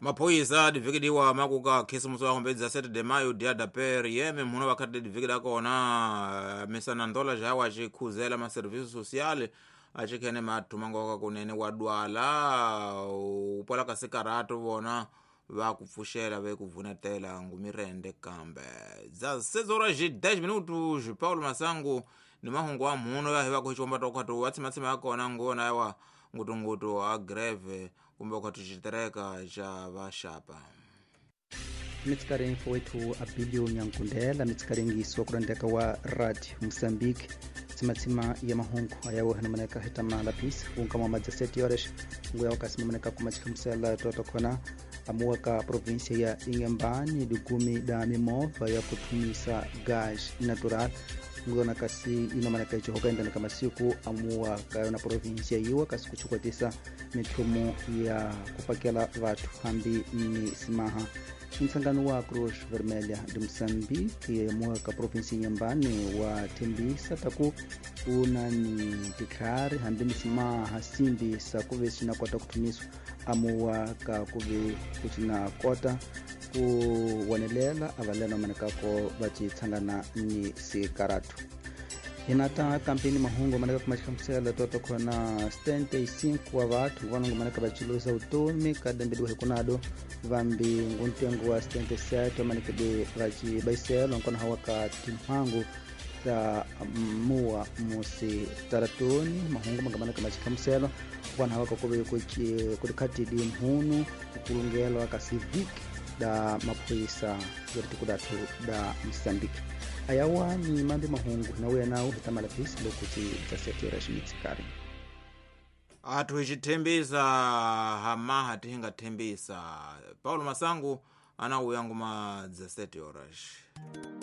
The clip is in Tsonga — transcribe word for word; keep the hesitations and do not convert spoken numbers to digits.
Maphoyisa divikidiwa makuka khisimusi wa khombedza sete de maio dia da per yeme mhuno vakhati divikida kona misana ndola jawa acikhuzela maserviço social acikhene mathuma ngoka kunene wa dwala upola ka sikarato vona va ku pfuxela ve ku vunetela ngumirende kambe dza seis horas e dez minutos. Paulo Masangu ni mahungu wa mhuno ya hiva kuxikomba tokhatu wa tshimatsima ya kona ngona yawa ngutungutu a greve kumbe khatu xitereka xa vaxapa. Mitsikarengi fowethu Abilio Nyankundela mitsikarengiso kurandeka wa Radio Moçambique tsimatsima ya mahungu ayawo hanamaneka hitama lapis unkama ma dezessete horas nguya wakasimamaneka kumachihlamusela toto khona amuwa ka província ya Inhambane dikumi da mimova ya kuthumisa gás natural ngona kasi inomaneka ichihoka endaneka masiku amuwa ka yona província yiwa kasi kuchikwatisa mithumo ya kupakela vathu hambi misimaha. Ntsangano wa Cruz Vermelha de Moçambique yamuwa ka província Inhambane wa thembisa taku una ni titlhari hambi misimaha simbisa kuve sina kota kuthumiswa amuwa ka kuve kucina kota ku wonelela avalena manekako va tshangana ni sikaratu. Hinata kampeni mahungu maneka kumaxihlamusela toto khona setenta e cinco wa vathu vanongo maneka va cilusa vutomi ka dambeliwa hi kunado vambi nguntengo wa setenta e sete manekede va cibaiselo nkona hawa ka timhangu ta muwa musi taratoni mahungu mangamaneka maxihlamuselo vana hawa ka kuve kulikhatidi mhunu kukulungelwa ka civic da maphoyisa ya tiko dathu da Moçambique. Ayawa ni mambi mahungu na uya nawo hitamala pisi lokuti dezessete horas mitsikari. Athu ixithembisa hamaha tihingathembisa. Paulo Masangu anauya nguma dezessete horas.